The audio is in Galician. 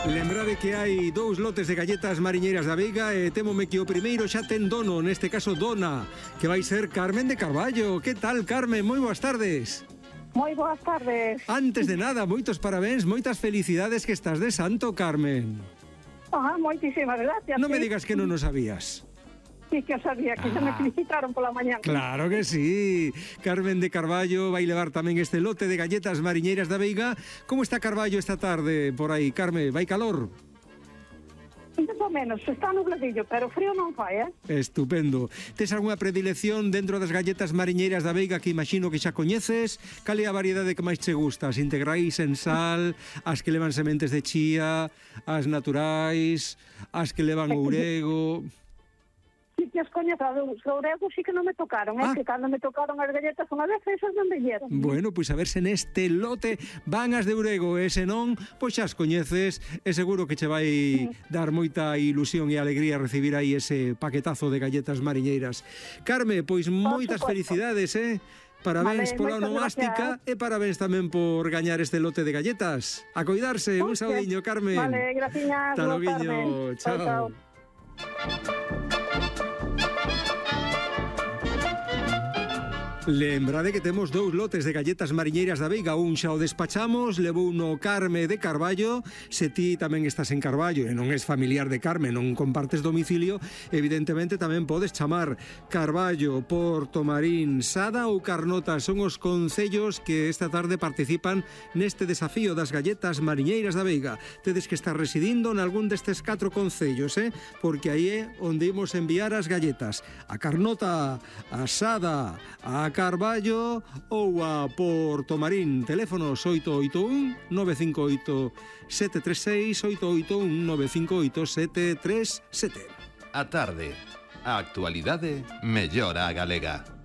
Lembrade que hai 2 lotes de galletas mariñeiras da Veiga e témome que o primeiro xa ten dono, neste caso dona, que vai ser Carmen de Carballo. Que tal, Carmen? Moi boas tardes. Moi boas tardes. Antes de nada, moitos parabéns, moitas felicidades que estás de santo, Carmen. Moitísimas gracias. Non me digas que non o sabías. Sí que o sabía, que se me felicitaron pola mañá. Claro que sí. Carmen de Carballo vai levar tamén este lote de galletas mariñeiras da Veiga. Como está Carballo esta tarde por aí, Carmen? Vai calor? Más ou menos, está nubladillo, pero frío non fai, Estupendo. Tes algunha predilección dentro das galletas mariñeiras da Veiga que imagino que xa coñeces? Cal é a variedade que máis che gusta? As integrais en sal, as que levan sementes de chía, as naturais, as que levan ourego... Sí que as coñezo, os ouregos sí que non me tocaron, que cando me tocaron as galletas unha vez, esas non me dieron. Bueno, pois a ver se neste lote van as de ourego e se non, pois xa as coñeces e seguro que che vai dar moita ilusión e alegría recibir aí ese paquetazo de galletas mariñeiras. Carme, pois moitas felicidades, Parabéns pola onomástica e parabéns tamén por gañar este lote de galletas. A coidarse, un saudiño, Carmen. Vale, graciñas. Hasta loguiño, chao. Lembrade que temos 2 lotes de galletas mariñeiras da Veiga. Un xa o despachamos, levou no Carme de Carballo. Se ti tamén estás en Carballo e non és familiar de Carme, non compartes domicilio, evidentemente tamén podes chamar. Carballo, Porto Marín, Sada ou Carnota son os concellos que esta tarde participan neste desafío das galletas mariñeiras da Veiga. Tedes que estar residindo en algún destes 4 concellos, porque aí é onde imos enviar as galletas. A Carnota, a Sada, a Carballo ou a Porto Marín. Teléfonos 881 958 736 881 958 737. A tarde, a actualidade mellora a galega.